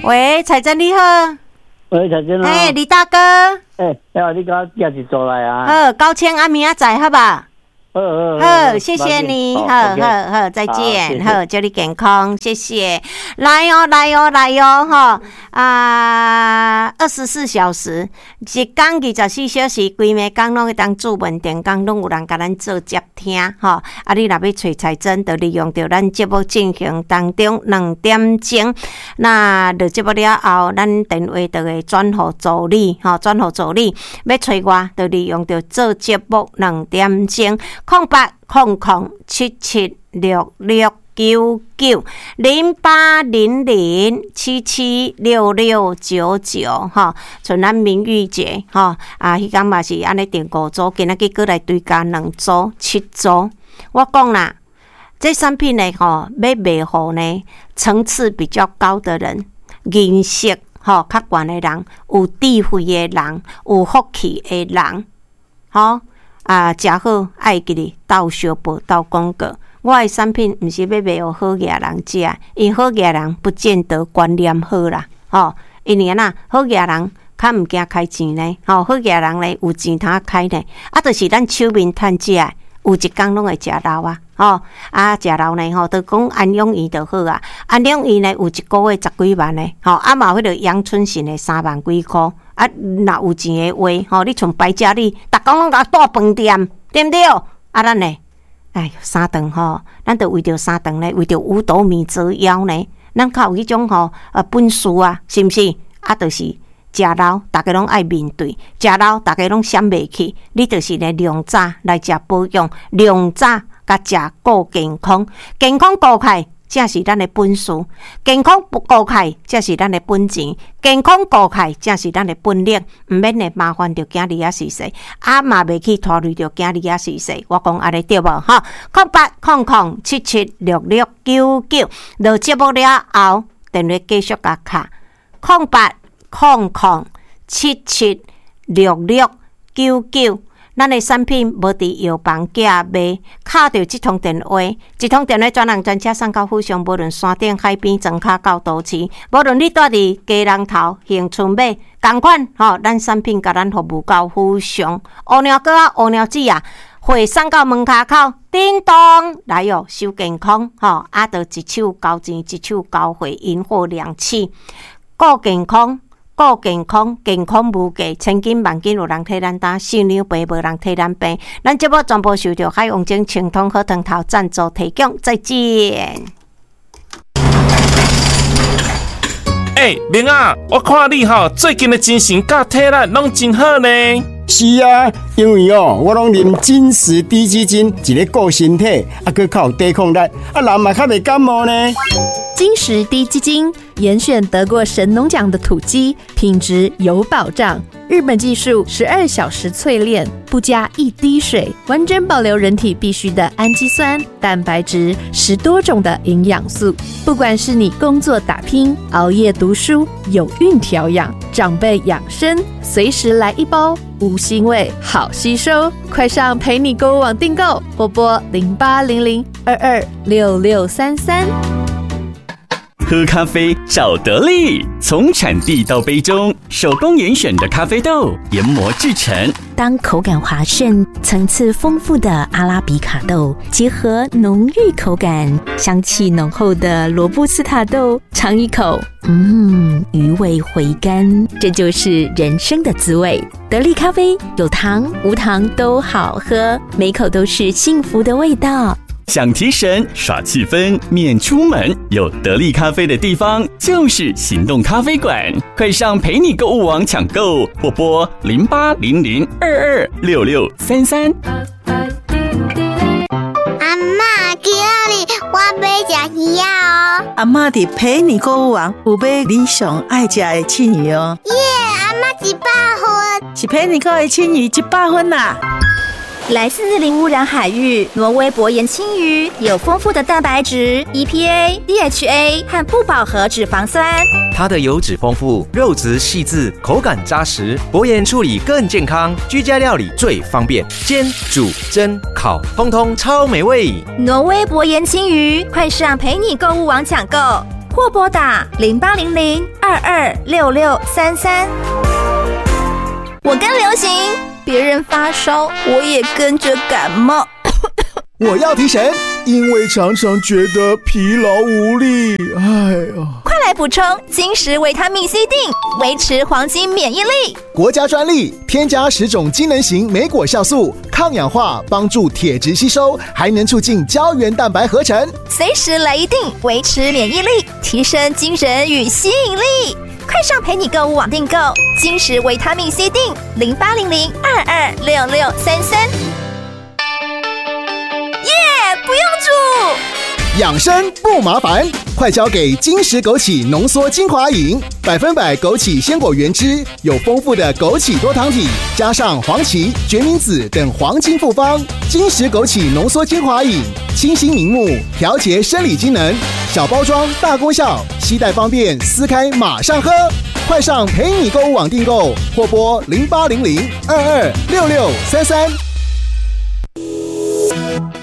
喂，彩珍你好。喂，彩珍啊。哎，李大哥。哎，哎，你給我寄一組來啊。好，9000暗暝仔載好吧？好好好，謝謝你，好好好，再見，好，祝你健康，謝謝。來哦，來哦，來哦，吼啊，24小時，一工24小時，規暝工攏會當主問電工，攏有人共咱做接聽，吼。啊，你若欲揣彩珍，就利用著咱節目進行當中2點鐘，那落節目了後，咱電話就會轉予助理，吼，轉予助理。欲揣我，就利用著做節目2點鐘。08007766990800776699吼，像咱明玉姐吼，啊，彼工嘛是按呢訂五組，今仔日閣來追加兩組，七組。我講啦，這產品呢吼，欲賣予呢層次比較高的人，認識吼較懸的人，有智慧的人，有福氣的人，吼。啊，食好愛會記得鬥相報、鬥廣告。我的產品毋是欲賣予好額人食，因為好額人不見得觀念好啦，吼。因為按怎好額人較毋驚開錢呢，吼，好額人咧有錢通開呢，啊，就是咱手面趁食的，有一工攏會食老啊，吼，啊，食老呢，吼，就講安養院就好啊。安養院呢有一個月十幾萬呢，吼，啊嘛有彼個陽春信的3萬幾箍。啊，若有錢的話，吼，你像敗家你，逐工攏共帶飯店，對毋對？啊，咱呢，哎，三頓吼，咱就為著三頓呢，為著五斗米折腰呢，咱較有彼種吼，本事啊，是毋是？啊，就是食老，逐家攏愛面對，食老，逐家攏閃袂去。你就是咧量早來食保養，量早共食顧健康，健康顧起來才是咱的本事，健康顧起來才是咱的本錢，健康顧起來才是咱的本領。毋免會麻煩著囝兒仔婿婿，啊嘛袂去拖累著囝兒仔婿婿。我講按呢對無？吼，0800776699，落節目了後，電話繼續共敲，0800776699。咱的產品無佇藥房寄賣，敲著這通電話，這通電話專人專車送到府上，無論山頂海邊、莊跤到都市，無論你蹛佇基隆頭、恆春尾，仝款吼，咱產品共咱服務到府上。烏貓哥仔、烏貓姊啊，貨送到門跤口，叮當來喲，收健康吼，啊，就一手交錢，一手交貨，銀貨兩訖，顧健康。顧健康，健康無價，千金萬金有人替咱擔，四兩病無人替咱病。咱節目全部受著海王精清湯好湯頭贊助提供，再見。欸，明仔，我看你吼最近的精神佮體力攏真好呢。是啊，因為哦，我攏啉金石滴雞精，一咧顧身體，啊，閣較有抵抗力，啊，人嘛較袂感冒呢。金石滴雞精，嚴選得過神農獎的土雞，品質有保障。日本技術，12小時淬煉，不加一滴水，完整保留人體必需的氨基酸、蛋白質，10多種的營養素。不管是你工作打拼、熬夜讀書、有孕調養、長輩養生，隨時來一包，無腥味，好吸收。快上陪你購物網訂購，或撥0800226633。喝咖啡找得力，從產地到杯中，手工嚴選的咖啡豆研磨製成。當口感滑順、層次豐富的阿拉比卡豆，結合濃郁口感、香氣濃厚的羅布斯塔豆，嘗一口，餘味回甘，這就是人生的滋味。得力咖啡有糖無糖都好喝，每口都是幸福的味道。想提神耍氣氛，免出門，有得力咖啡的地方就是行動咖啡館。快上陪你購物網搶購，或撥0800226633。阿嬤，今仔日我欲食魚仔哦。阿嬤佇陪你購物網有買你上愛食的刺魚哦。耶，阿嬤100分。是陪你購的青魚100分啦。來自零污染海域，挪威薄鹽鯖魚有豐富的蛋白質、EPA、DHA 和不飽和脂肪酸。它的油脂豐富，肉質細緻，口感扎實，薄鹽處理更健康，居家料理最方便，煎、煮、蒸、烤，通通超美味。挪威薄鹽鯖魚，快上陪你購物網搶購，或撥打0800-226633。我跟流行，別人發燒，我也跟着感冒。我要提神，因為常常覺得疲勞無力。哎呀，快來補充金石維他命 C 錠，維持黃金免疫力。國家專利，添加10種機能型莓果酵素，抗氧化，幫助鐵質吸收，還能促進膠原蛋白合成。隨時來一錠，維持免疫力，提升精神與吸引力。快上陪你購物網訂購金石維他命 C 錠，0800-226633。耶，不用煮，養生不麻煩，快交給金石枸杞濃縮精華飲，100%枸杞鮮果原汁，有豐富的枸杞多糖體，加上黃芪、決明子等黃金複方，金石枸杞濃縮精華飲，清新明目，調節生理機能，小包裝大功效，攜帶方便，撕開馬上喝。快上陪你購物網訂購，或撥0800-226633。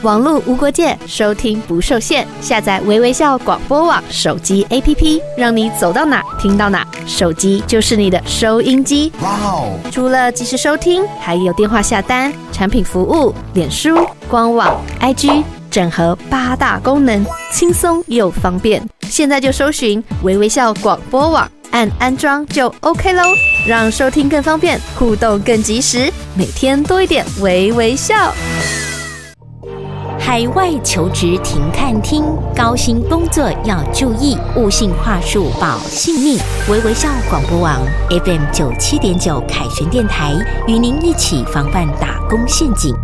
網路無國界，收聽不受限。下載微微笑廣播網手機 APP，讓你走到哪聽到哪。手機就是你的收音機。哇哦！除了即時收聽，還有電話下單、產品服務、臉書、官網、IG，整合八大功能，輕鬆又方便。現在就搜尋微微笑廣播網，按安裝就 OK 囉，讓收聽更方便，互動更及時，每天多一點微微笑。海外求職停看聽，高薪工作要注意，勿信話術保性命。微微笑廣播網 FM 97.9凱旋電台，與您一起防範打工陷阱。